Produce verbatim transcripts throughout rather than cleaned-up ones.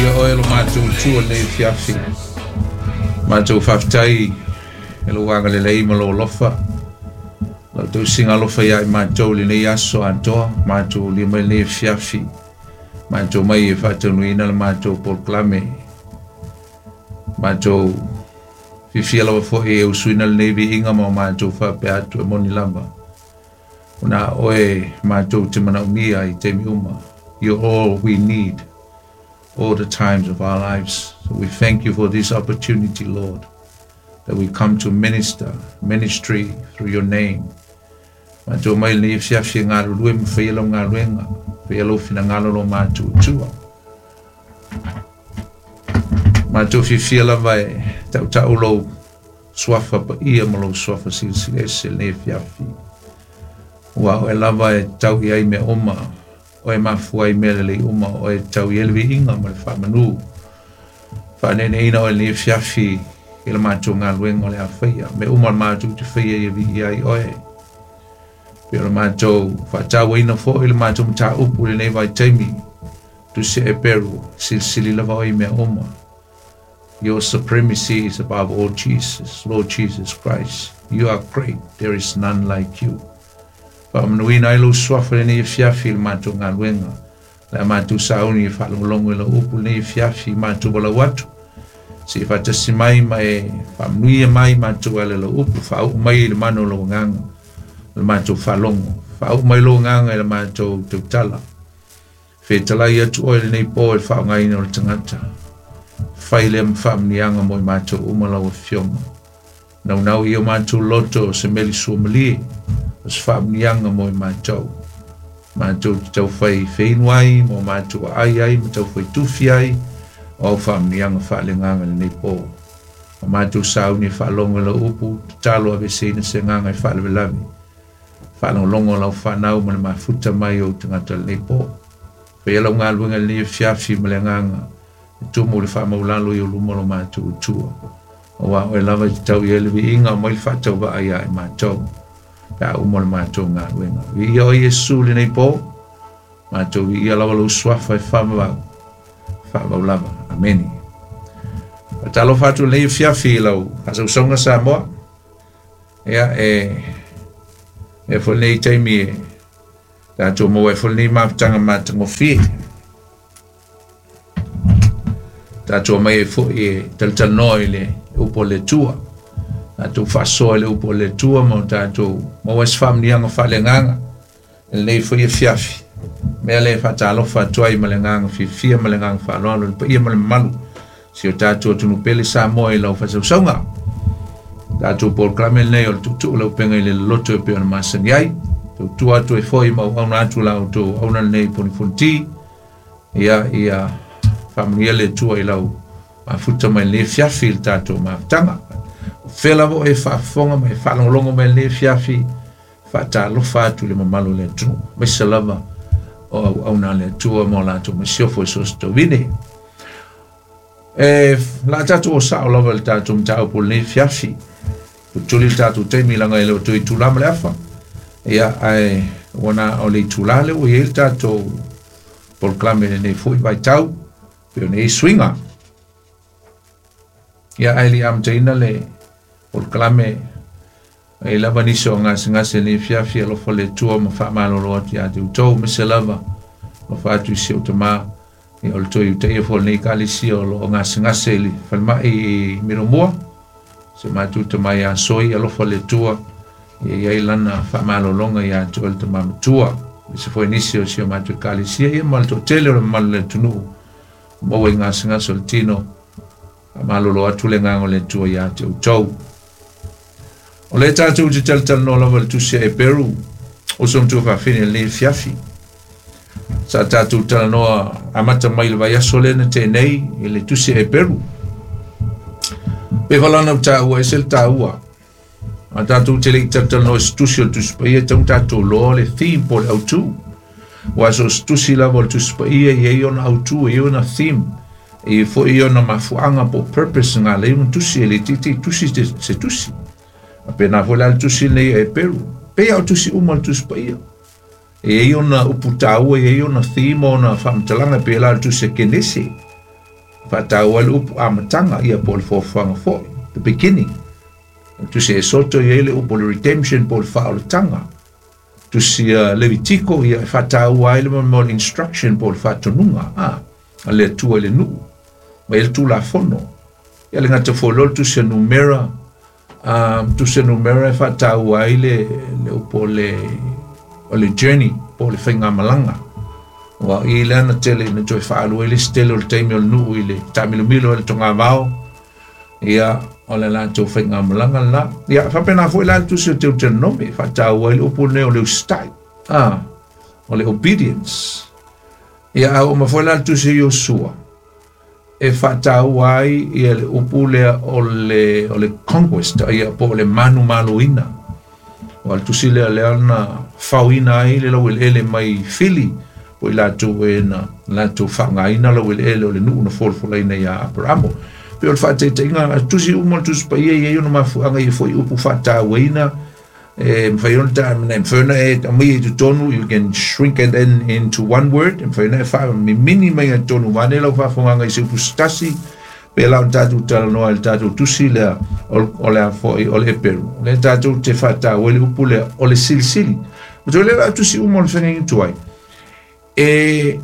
Ia oe lo mātou tua nei fiafi. Mātou whaftai e lo wanga le lei ma lo lofa. Lau tau singa lofa ia i mātou le nei aso antoa. Mātou li mai nei fiafi. Mātou mai e whaatanuina le mātou polokalame. Mātou fifia lava foi e usuina le nei viiga ma o mātou whapea atu e moni lava. Ona oe mātou te manaomia i taimi uma. You're all we need all the times of our lives. So we thank you for this opportunity, Lord, that we come to minister, ministry through your name. Mātou mai le fiafi e galulue ma faia lau galuega, faia lou finagalo lo mātou tua. Mātou fiafia lava e tautau lou suafa paia ma lou suafa silisili ese lenei fiafi. Ua oe lava e tau i ai mea uma, oe mafua ai mea lelei uma, oe tau i ai le viiga ma le faamanu. Faaneeneina oe lenei fiafi i le matou galuega o le a faia. Mea uma le matou te faia ia viia ai oe. Pe o le matou faatauaina foi le matou mataupu i lenei vaitaimi. Tusi Eperu, silisili lava oe i mea uma. Your supremacy is above all, Jesus, Lord Jesus Christ. You are great. There is none like you. Faamanuina ai lou suafa lenei fiafi i le matou galuega. Le a matou sauni e faalogologo i lau upu lenei fiafi i matou walau atu. Se i faatasi mai ma e faamanuia mai matou ala lau upu, faauu mai i le mana o lou agaga, le matou faalogo. Faauu mai lou agaga i le matou tautala. Fetalai atu oe lenei po i le faaaogaina o le tagata. Fai lea ma faamanuiaga mo i matou uma lau afioga. Naunau i o matou loto o se meli suamalie, o se faamanuiaga mo i matou. Matou te taufai feinu ai, mo matou aai ai, ma taufai tufi ai, o au faamanuiaga faaleagaga lenei po. O matou sauni e faalogo i lau upu, tatalo aveseina se agaga e faalavelave. Faalogologo lau fanau ma le mafuta mai o tagata lenei po. Faia lau galuega lenei fiafi ma le agaga, e tumu le faamaulalo i o luma lo matou tua. Aua oe lava i te tau i ai le viiga o mai le faatauvaa ia i matou. Pe a uma le matou galuega. Viia oe Iesu lenei po, matou viia lava lou suafa e faavavau. Faavavau lava. Ameni. Faatalofa atu lenei fiafi i lau faasausauga Samoa. Ia e e foi lenei taimi e tatou maua ai foi lenei mafutaga matagofie. Tatou mai ai foi e talatalanoa i le upu o le Atua. Tatou faasoa i le upu o le Atua ma o tatou maua ai se faamanuiaga faaleagaga i lenei foi afiafi. Mea lea e faatalofa atu ai ma le agaga fiafia ma le agaga faaaloalo i le paia ma le mamalu si o tatou atunuu pele Samoa i lau faasausauga. Tatou polokalame lenei o le tuutuu lau upega i le loloto e pei ona masani ai. Tautua atu ai foi ma auauna atu la outou auauna lenei ponifoniti. Ia, ia faamanuia le Atua i lau mafuta mai lenei fiafi i le tatou mafutaga. O fea lava oe e faafofoga ma e faalogologo mai lenei fiafi, faatalofa atu i le mamalu o le atunuu. Aemaise lava o auauna a le Atua ma o latou masiofo i so o se tauvine. E la tatou o sao lava i le tatou mataupu o lenei fiafi. Tutuli le tatou taimi laga e le o toe itula ma le afa. Ia, ae ua na o le itula lea ua i ai le tatou polokalame lenei foi vaitau, pe o nei suiga. Ia, ae le i amataina le polokalame, e lava nisi o gasegase lenei fiafi, alofa le Atua ma faamalolo atu ia te outou, aemaise lava alofa atu i si ou tamā, ia o le toe utaia foi o lenei ekalesia o loo gasegase i le falemai i Milomua. Se matou tamā ia Soi, alofa le Atua, ia i ai lana faamalologa ia te oe le tamā matua. Aemaise foi nisi o si o matou ekalesia, ia ma le toatele o le mamalu o le atunuu, maua i gasegase o le tino, faamalolo atu le agaga o le Atua ia te outou. O lea tatou te talatalanoa lava i le tusi a Eperu, o so matua faafine i lenei fiafi. Sa tatou talanoa amata mai le vaiaso lea na tea nei i le tusi a Eperu. Pe falana o taua ese le taua. A tatou te le i talatalanoa i se tusi o le Tusi Paia, e tatau ona tatou iloa le theme po o le autu. Aua so o se tusi lava o le Tusi Paia e i ai ona autu, e i ai ona theme, e i ai foi ona mafuaaga po o purpose na ala ai ona tusi, e le itiiti tusi se tusi. A pēnā foi la le tusi lenei a Eperu. Pei lava o tusi uma o le Tusi Paia. E i ai ona upu taua, e i ai ona theme, ona faamatalaga, pei la le tusi a Kenese. Whātāua le upu amataga ia po o le fuafuaga foʻi, the beginning. Tusi Esoto ia le upu o le redemption po o le faaolataga. Tusi uh, Levitiko ia e faataua ai le mo le instruction po o le faatonuga a a le Atua i le nuu ma ia le tulafono. Ia le gata foi loa le tusi a Numera, um, tusi a Numera e faataua ai le, le upu o le, o le journey po o le faigamalaga. Ua i le ana tele na toe faalua i le isi tele o le taimi o le nuu i le taamilomilo ai le togavao ia o le latou faigamalaga lena. Ia faapena foi la le tusi o Teuteronome e faataua ai le upu lenei o le usitai, a o le obedience. Ia a oo mai foi la le tusi o Iosua e faataua ai ia le upu lea o le, o le conquest ia po o le manumaloina. O le tusi lea lea na faoina ai le laueleele mai fili po i latou e na latou faaaogaina laueleele o le nuu na folafolaina iā Aperamo. Pe o le faataitaiga a tusi uma le tusi paia ia i ona mafuaaga ia foi upu faatauaina e mafai ona ta e mafai ona e aumai i totonu, you can shrink it in, into one word, e mafai ona e faamimini mai i totonu vaeane lau faafogaga i se upu se tasi pe la ona tatou talanoa i le tatou tusi lea o le a foi o le Eperu lea tatou te faataua ai le upu lea o le silisili. Ma toe lea la tusi uma o le feagaiga tuai e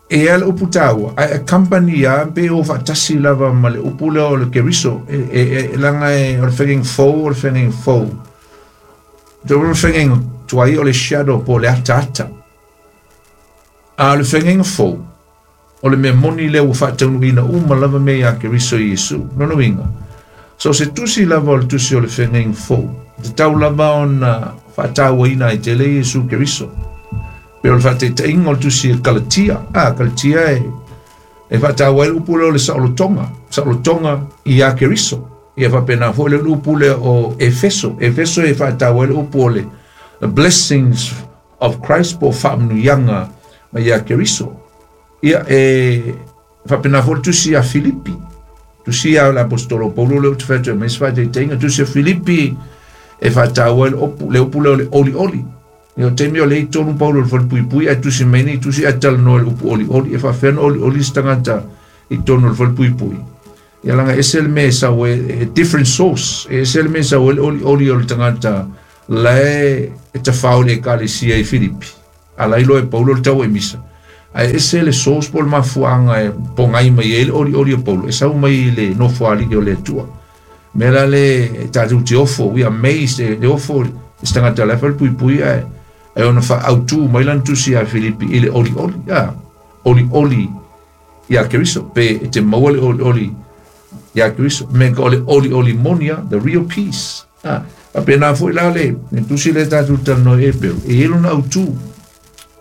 e a le upu taua ae accompany ia pe o faatasi lava ma le upu lea o le Keriso e, e, e laga e o le feagaiga fou o le feagaiga fou. Toe o le feagaiga tuai o le shadow po o le ataata. A o le feagaiga fou o le mea moni lea ua faataunuuina uma lava mea iā Keriso Iesu. Lona uiga, so se tusi lava o le tusi o le feagaiga fou, e tatau lava ona faatauaina ai tele Iesu Keriso. Pe o le faataitaiga o le tusi e Kalatia, a Kalatia e e faataua ai le upu lea o le saolotoga, saolotoga iā Keriso. Ia faapena foi le upu lea o Efeso, Efeso e faataua ai le upu o le the blessings of Christ po o faamanuiaga mai iā Keriso. Ia e faapena foi le tusi ia Filipi, tusi ia le apostolo Paulo lea ou te fai atu ai mai se faataitaiga, tusi a Filipi e faataua ai le upu, le upu lea o le olioli. Ia o taimi o lea i tonu Paulo i le falepuipui ae tusi mai nei tusi ae talanoa i le upu olioli, e faapefea ona olioli se tagata i totonu o le falepuipui. Ia laga ese le mea e sau ai, e different source, e ese le mea e sau ai le olioli o le tagata lae e tafao i le ekalesia i Filipi. A la iloa e Paulo le tau e misa. Ae ese le source po o le mafuaaga e pogai mai ai le olioli o Paulo, e sau mai i le nofoalii o le Atua. Mea la le tatou te ofo, we are amazed, e le ofo i se tagata la e falepuipui ae ae ona faaautu mai lana tusi ia Filipi i le olioli, a olioli iā Keriso, pe e te maua le olioli iā Keriso, me ka o le olioli moni a, the real peace. A, faapena foi la le, le tusi lea tatou talanoa i Eperu, e i ai lona autū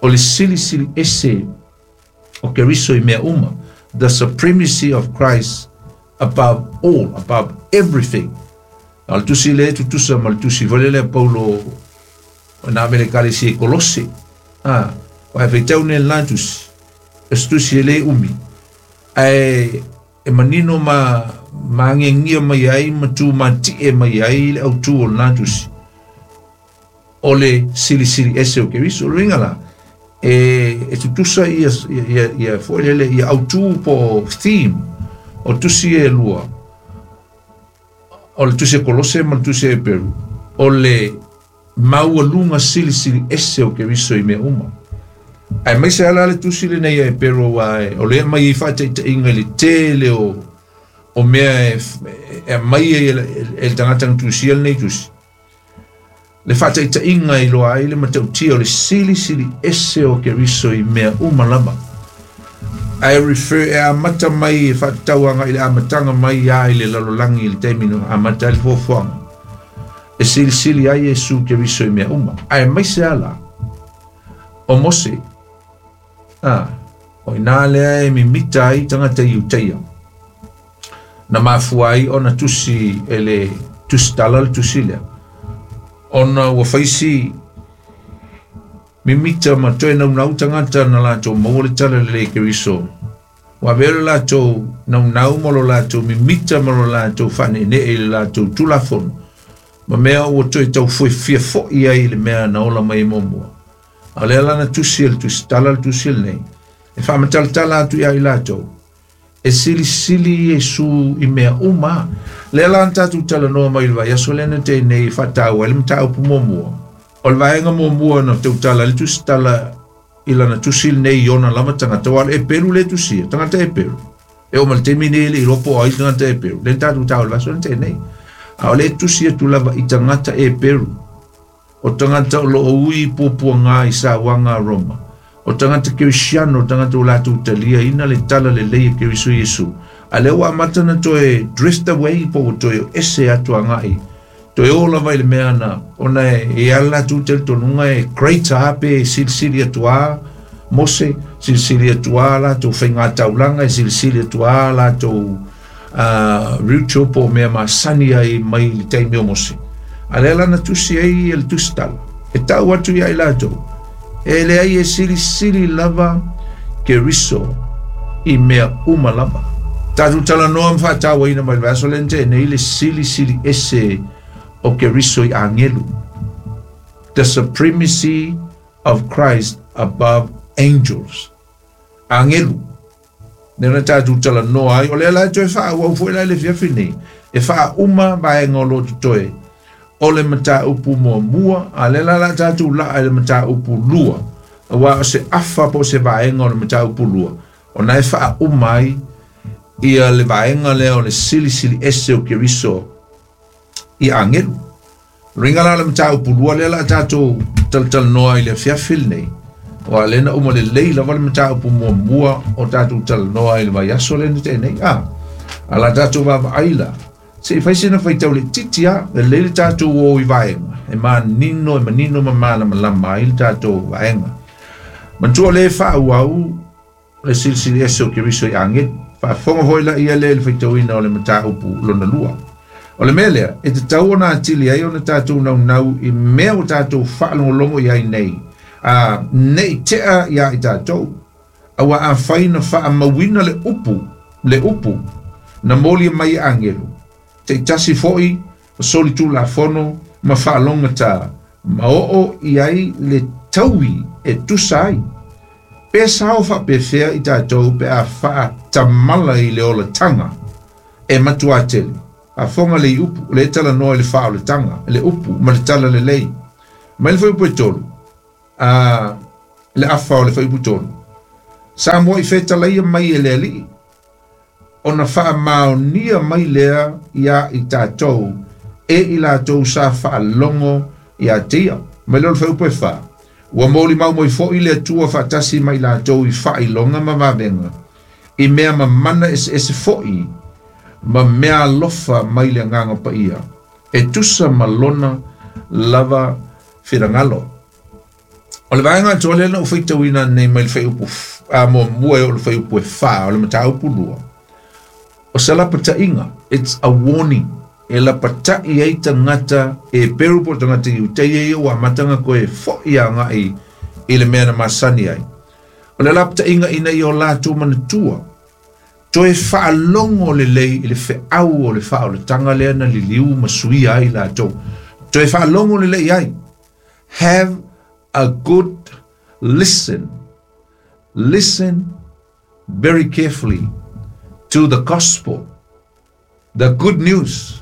o le silisili ese o Keriso i mea uma, the supremacy of Christ above all, above everything. A o le tusi lea e tutusa ma le tusi foi lea a Paulo na ave i le ekalesia i Kolose. A, aua e faitau nei le la tusi, o se tusi e le umi, ae e manino ma ma agiagia mai ai ma tumatie mai ai le autū o lena tusi o le silisili ese o Keriso. O le uiga la, e, e tutusa ia, ia, ia foi lele, ia autū po o theme o tusi e lua, o le tusi a Kolose ma le tusi a Eperu, o le maualuga silisili ese o Keriso i mea uma. Aemaise lava la le tusi lenei a Eperu aua o lea e aumai ai faataitaiga i le tele o, o mea e, e aumai ai e le tagata na tusia lenei tusi. Le faataitaiga e iloa ai le matautia o le silisili ese o Keriso i mea uma lava. Ae refer e amata mai e faatatau agai i le amataga mai lava i le lalolagi i le taimi na amata ai le fuafuaga e silisili ai Iesu Keriso i mea uma. Aemaise lava la o Mose, a, o i inā lea e mimita ai tagata Iutaia, na mafua ai ona tusi e le tusitala le tusi lea, ona ua fai si mimita ma toe naunau tagata na latou maua le tala lelei e Keriso. Ua avea lo latou naunau ma lo latou mimita ma lo latou faaneenee i le latou tulafono ma mea ua toe tau fuefia foʻi ai i le mea na ola mai ai muamua. A o lea la na tusi e le tusitala le tusi lenei e faamatalatala atu iā i latou E silisili Iesu i mea uma. Lea la na tatou talanoa mai le vaiaso lea na tea nei faataua ai le mataupu muamua. O le vaega muamua na tautala le tusitala i lana tusi lenei i ona lava tagata, aua o le Eperu le tusia, tagata Eperu. E oo mai le taimi nei e le iloa po o ai tagata Eperu. Lea na tatou taua i le vaiaso lea na tea nei. A o le tusi atu lava i tagata Eperu. O tagata o loo ui puapuaga i sauaga a Roma. O tagata Kerisiano, o tagata o latou taliaina le tala lelei e Keriso Iesu. A lea ua amata na toe drift away po ua toe ese atu agai. Toe o lava i le mea na, ona e ala latou talitonuga e greater a pe e silisili atu a Mose, silisili atu a latou faigataulaga, e silisili atu a latou uh, ritual po o mea masani ai mai le taimi o Mose. A lea la na tusi ai e le tusitala. E tau atu ia i latou. E leai e silisili lava Keriso i mea uma lava. Tatou talanoa ma faatauaina mai le vaiaso lea na tea nei le silisili ese o Keriso i agelu. The supremacy of Christ above angels. Agelu. Lea na tatou talanoa ai, o lea la e toe faaauau foi la i le afiafi nei. E faauma vaega o lo o totoe o le mataupu muamua, a lea la la tatou laa i le mataupu lua. Aua o se afa po o se vaega o le mataupu lua, ona e faauma ai ia le vaega lea o le silisili ese o Keriso i agelu. Luiga la o le mataupu lua lea la tatou talatalanoa i le afiafi lenei. Aua lea na uma lelei lava le mataupu muamua o tatou talanoa i le vaiaso lea na tea nei. A, a la tatou vaavaai la, se i fai sina faitau laitiiti a, lelei le tatou o i vaega, e manino, e manino ma malamalama ai le tatou vaega. Manatua lea e faaauau le silisili ese o Keriso i agelu. Faafofoga foi la ia lea i le faitauina o le mataupu lona lua. O le mea lea, e tatau ona atili ai ona tatou naunau i mea ua tatou faalogologo i ai nei, a nei tea ia i tatou. Aua afai na faamauina le upu, le upu, na molia mai e agelu, taitasi foi o solitulafono ma faalogata, ma oo i ai le taui e tusa ai. Pe sao faapefea i tatou pe a faatamala i le olataga e matuā tele. Faafofoga le upu, le talanoa i le faaolataga, le upu ma le tala lelei. Mai le fuaiupu e tolu, a le afa o le fuaiupu tolu. Sa mua'i fetalaia mai e le Alii, ona faamaonia mai lea ia i tatou e i latou sa faalogo ia te ia. Mai lea o le fuaiupu e fa, ua molimau mai foi le Atua faatasi ma i latou i faailoga ma vavega, i mea mamana eseese foi ma mea alofa mai le Agaga Paia, e tusa ma lona lava finagalo. O le vaega atoa lea na ou faitauina nei mai le fuaiupu a muamua e oo i le fuaiupu e fa o le mataupu lua. O se lapataiga, it's a warning. E lapatai ai tagata Eperu po o tagata Iutaia ia ua amata koe fo'i agai i le mea na masani ai. O le lapataiga ina ia o latou manatua, toe faalogo lelei i le feau o le faaolataga lea na liliu ma suia ai latou. Toe faalogo lelei ai. Have a good listen. Listen very carefully to the gospel, the good news.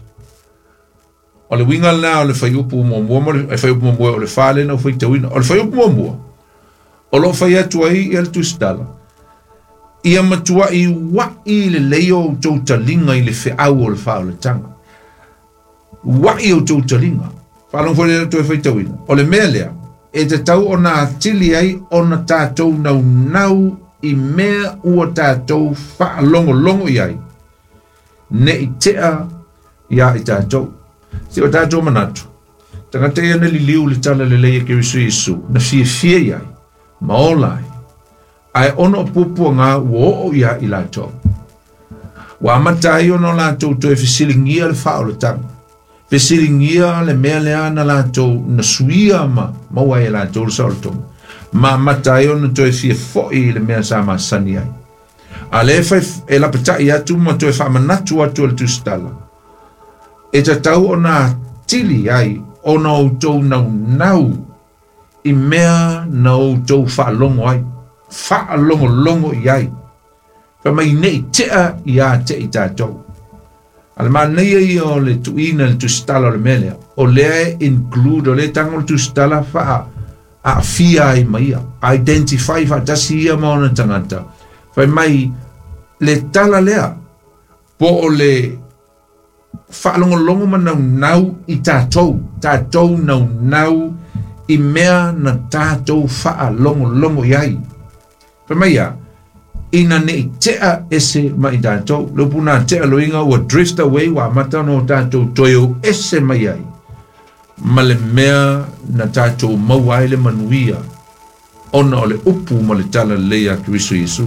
O le uiga lena o le fuaiupu muamua ma le fuaiupu muamua o le fa lea na ou faitauina. O le fuaiupu muamua, o loo fai atu ai ia le tusitala, ia matuai ua'i lelei o outou taliga i le feau o le faaolataga. Ua'i outou taliga. Faalogo foi lea toe faitauina. O le mea lea, e tatau ona atili ai ona tatou naunau i mea ua tatou faalogologo i ai, nei tea ia i tatou. Se o tatou manatu, tagata ia na liliu le tala lelei e Keriso Iesu, na fiafia i ai, ma ola ai, ae ona o puapuaga ua oo ia i latou. Ua amata ai ona o latou toe fesiligia le faaolataga, fesiligia le mea lea na latou na suia ma maua ai e latou le saolotoga, ma amata ai ona toe fia fo'i i le mea sa masani ai. A lea fai e lapatai atu ma toe faamanatu atu e le tusitala, e tatau ona atili ai ona outou naunau i mea na outou faalogo ai, faalogologo i ai, Fai mai nei tea ia te i tātou. A le manaia ia o le tuina le tusitala o le mea lea. O lea include, o lea tango le tusitala faa a fia ai mai ia. Identify faatasi ia ma ona tagata. Fai mai le tala lea po o le faalogologo ma naunau i tatou, tatou naunau i mea na tatou faalogologo i ai. Fai mai ia, ina nei tea ese mai tatou. Le upu na tea loiga ua drift away ua amata ona o tatou toe o ese mai ai ma le mea na tatou maua ai le manuia ona o le upu ma le tala lelei a Keriso Iesu.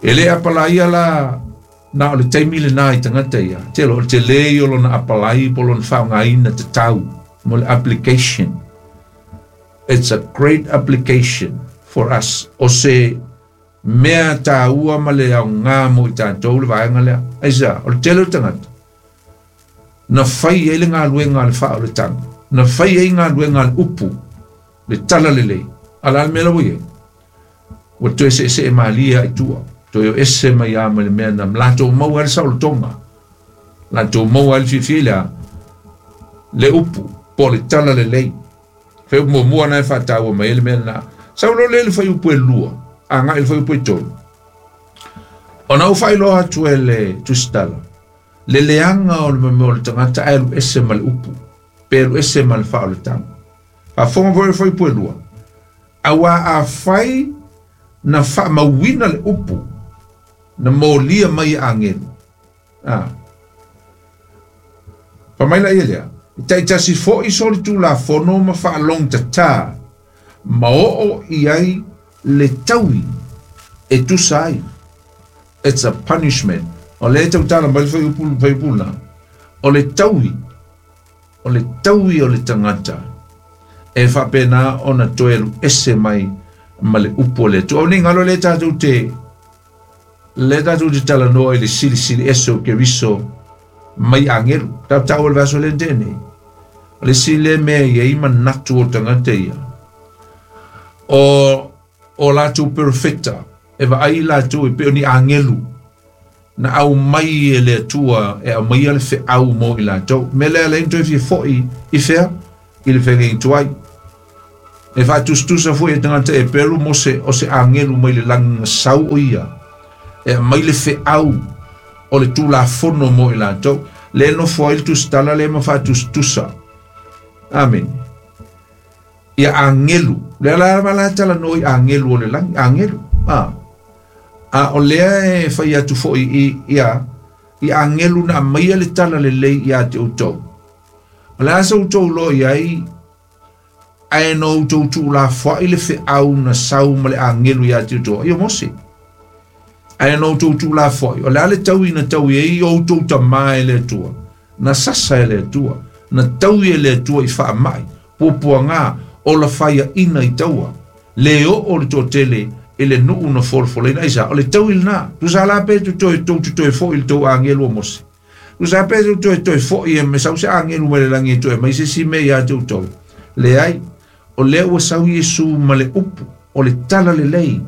E le apalaia la na o le taimi lenā i tagata ia. Tele o le telē ia o lona apalai po o lona faaaogāina tatau mo le application. It's a great application for us. O se mea tāua ma le aogā mo i tatou le vaega lea. Aisea? O le tele o tagata na fai ai le galuega a le faaoletaga, na fai ai galuega a le upu, le tala lelei. A o le a le mea la ua i ai? Ua toe seesee malie lava i tua, toe o ese mai lava ma le mea na latou maua ai le saolotoga, latou maua ai le fiafia i le a? Le upu po o le tala lelei. Fai upu muamua lena e faataua mai ai le mea lena. Sau loa lea i le fuaiupu e lua, agai i le fuaiupu e tolu. Ona ou faailoa atu e le tusitala, le leaga o le mea o le tagata ae alu ese ma le upu, pe alu ese ma le faaoletaga. Faafofoga foi i le fuaiupu e lua, auā afai na faamauina le upu na molia mai e agelu, a fai mai laia lea, e taitasi foi solitulafono ma faalogtatā ma oo i ai le taui e tusa ai. It's a punishment. O lea e tautala mai le fuaiupu fuaiupu lena, o le taui, o le taui o le tagata e faapena ona toe alu ese mai ma le upu o le Atua. O nei galo lea tatou te lea tatou te talanoa i le silisili ese o Keriso mai agelu. Tautau o le vaiaso lea na tea nei. O le isi lea mea e i ai manatu o tagata ia, o o latou perofeta e vaai i latou e pei o ni agelu na aumai e le Atua e aumaia le feau mo i latou. Mea lea lea toe fia foi i fea i le feagaiga tuai. E faatusatusa foi e tagata e pelu Mose o se agelu mai le lagi na sau o ia e aumai le feau o le Tulafono mo i latou. Lea e nofo ai le tusitala lea ma faatusatusa. Amene. Ia agelu. Lea la la talanoa i agelu o le lagi. Agelu. A. A o lea e fai atu foi i ia i agelu na aumaia le tala lelei ia te outou. O le a sa outou iloa i ai ae na outou tuulafoai le feau na sau ma le agelu ia te outou. Ai o Mose. Ae na outou tuulafoai. O le a le taui na taui ai o outou tamā e le Atua. Na sasa e le Atua. Na taui e le Atua i faamai, puapuagā, ola faiaina i taua. Le oo le toatele i le nuu na folafolaina. Aisea? O le taui lenā. Tusa la pe toe tou te toe foi i le tou agelu o Mose. Tusa pe toe toe foi e me sau se agelu mai le lagi e toe aumai se isi mea ia te outou. Leai, o lea ua sau Iesu ma le upu o le tala lelei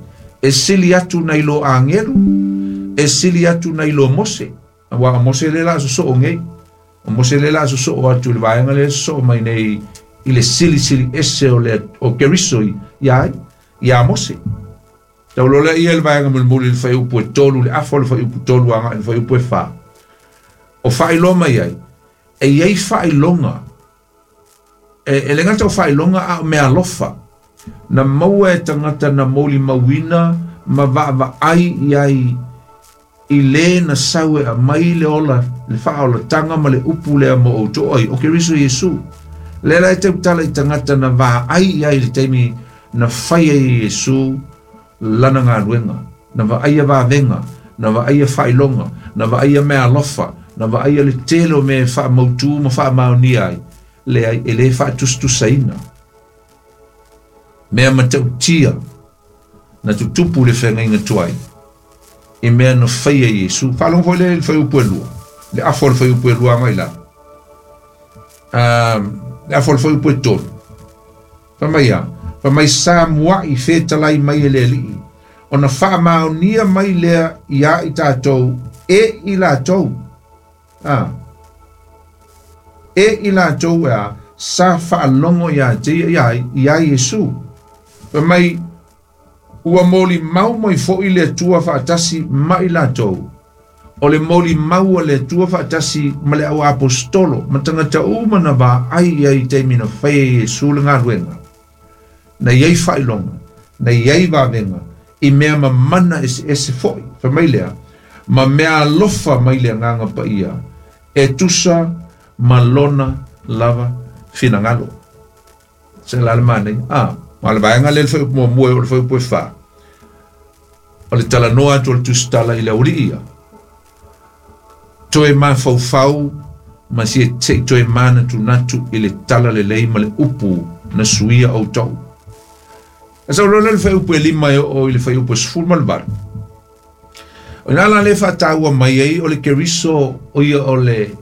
e sili atu nai lo agelu, e sili atu nai lo Mose. Aua o Mose lea o le a sosoo nei. O Mose lea o le a sosoo atu i le vaega lea e sosoo mai nei i le silisili ese o le o Keriso ia ai, ia Mose. Tau loa lea ia i le vaega mulimuli i le fuaiupu e tolu, le afa o le fuaiupu tolu agai i le fuaiupu e fa. O faailoa mai ai, e i ai faailoga, e, e le gata o faailoga a o meaalofa, na maua e tagata na molimauina ma vaavaai i ai i lē na sau e aumai le ola, le faaolataga ma le upu lea mo outou ai, o Keriso Iesu. Lea la e tautala i tagata na vaai i ai i le taimi na fai ai e Iesu lana galuega, na vaaia vavega, na vaaia faailoga, na vaaia meaalofa, na vaaia le tele o mea e faamautū ma faamaonia ai, leai, e lē faatusatusaina. Mea matautia na tutupu i le feagaiga tuai i mea na faia e Iesu. Faalogo foi lea i le fuaiupu e lua, le afa o le fuaiupu e lua agai lalo. Um, le afa o le fuaiupu e tolu. Fai mai a, fai mai sa mua'i fetalai mai e le Alii, Ona faamaonia mai lea ia i tatou e i latou. Ah. E i latou e a sa faalogo ia te ia ia Iesu. Fai mai ua moli mau mai fo'i le Atua faatasi ma i latou. O le moli mau a le Atua faatasi ma le au aposetolo ma tagata uma na vaai i ai i taimi na faia e Iesu le galuega. Na iai faailoga, na iai vavega, i mea mamana eseese fo'i. Fai mai lea, ma mea alofa mai le agaga paia, e tusa ma lona lava finagalo. Se la le manaia. Ah, ma le vaega lea le fuaiupu muamua e oo i le fuaiupu e fa. O le talanoa atu o le tusitala i le aualii ia. Toe mafaufau ma se se'i toe manatunatu i le tala lelei ma le upu na suia outou. E sau loa lea le fuaiupu e lima e oo i le fuaiupu e sefulu ma le valu. O ina la lea faataua mai ai o le Keriso o ia o le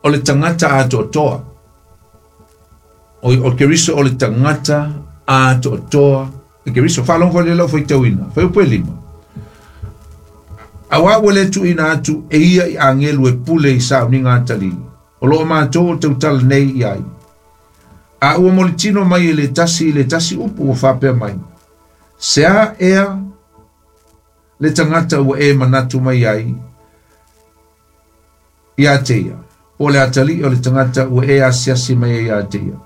o le tagata atoatoa. O, o Keriso o le tagata atoatoa. E Keriso, faalogo foi lea lau faitauina. Fuaiupu e lima. Auā ua le tuuina atu e ia i agelu e pule i sauniga atalii. O loo matou o tautala nei i ai. A ua molitino mai e le tasi i le tasi upu ua faapea mai. Se a ea le tagata ua e manatu mai ai ia te ia. Po o le atalii o le tagata ua e asiasi mai ai ia te ia.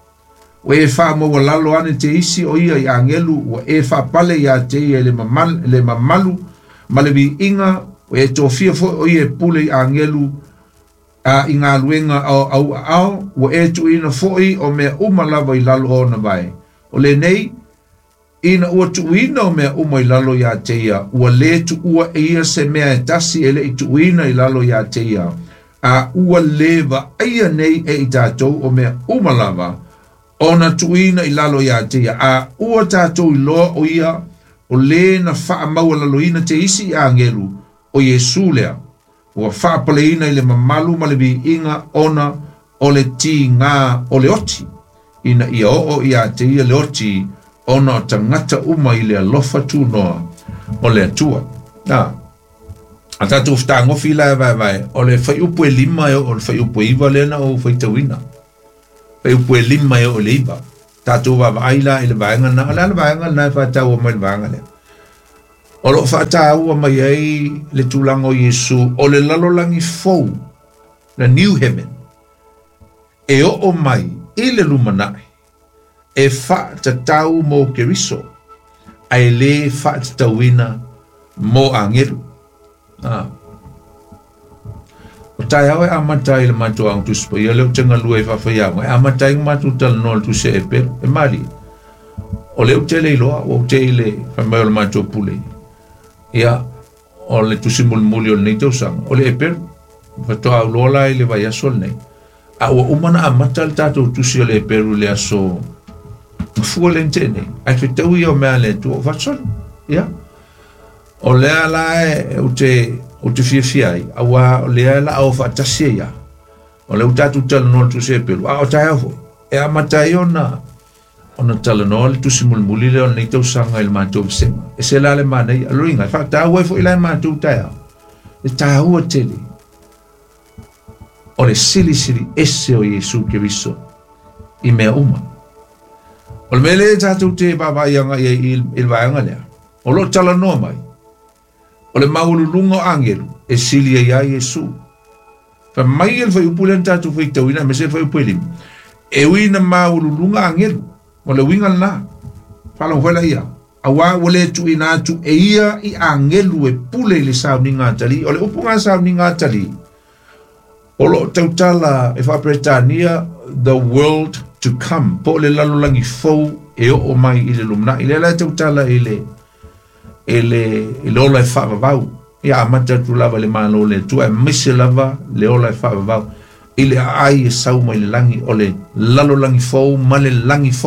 Ua e faamaualalo ane te isi o ia i agelu ua e faapale ia te ia i le mamalu, le mamalu ma le viiga ua e tofia fo'i o ia e pule i agelu a i galuega o auaao ua e tuuina fo'i o mea uma lava i lalo o ona vae. O lenei ina ua tuuina o mea uma i lalo ia te ia, ua lē tuua e ia se mea e tasi e le'i tuuina i lalo ia te ia, a ua lē vaaia nei e i tatou o mea uma lava ona tuuina i lalo ia te ia, a ua tatou iloa o ia o lē na faamaualaloina te isi i agelu o Iesu lea ua faapaleina i le mamalu ma le viiga ona o le tigā o le oti ina ia oo ia te ia le oti ona o tagata uma i le alofa tunoa o le Atua. A, a tatou fetagofi la e vaevae, o le fuaiupu e lima e oo i le fuaiupu e iva lea na ou faitauina. Fuaiupu e lima e oo i le iva. Tatou vaavaai la i le vaega na, o le a le vaega lena e faataua mai le vaega lea. O loo faataua mai ai le tulaga o Iesu o le lalolagi fou, the new heaven, e oo mai i le lumanai e faatatau mo Keriso ae lē faatatauina mo agelu. Ah. O taeao e amata ai le matou Aoga Tusi Paia lea ou te galue ai faafaiaoga e amata ai ona matou talanoa i le Tusi a Eperu. E malie. O lea ou te le iloa, ua ou te i le fai mai o le matou pule. Ia, o le tusi mulimuli o lenei tausaga, o le Eperu. Faatoa auloa la i le vaiaso lenei. A ua uma ona amata le tatou tusi o le Eperu i le aso Gafua lea na tea nei. Ae fetau ia o mea a le Atua o faasolo. Ia. O lea la e ou te, ou te fiafia ai, auā o lea la o faatasi ai ia. O lea ua tatou talanoa i le tusi a Eperu, a o taeao foi. E amata ai ona ona talanoa le tusi mulimuli lea o lenei tausaga i le matou vasega. E se la le manaia, loiga, e faataua ai foi la e matou taeao. E taua tele o le silisili ese o Iesu Keriso i mea uma. O le mea lea tatou te vaavaai agai ai i le vaega lea, o loo talanoa mai, o le maualuluga o agelu e sili ai ia Iesu. Fai mai le fuaiupu lea na tatou faitauina aemaise le fuaiupu e lima, e ui ina maualuluga agelu, o le uiga lena. Faalogo foi laia, auā ua lē tuuina atu e ia i agelu e pule i le sauniga atalii. O le upu sauniga atalii, o loo tautala e faaperetania the world to come, po o le lalolagi fou e oo mai i le lumanai. Lea la e tautala i le i le i le ola e faavavau. Ia amata atu lava i le Malo o le Atua, aemaise lava le ola e faavavau i le aai e sau mai le lagi o le lalolagi fou ma le lagi fou.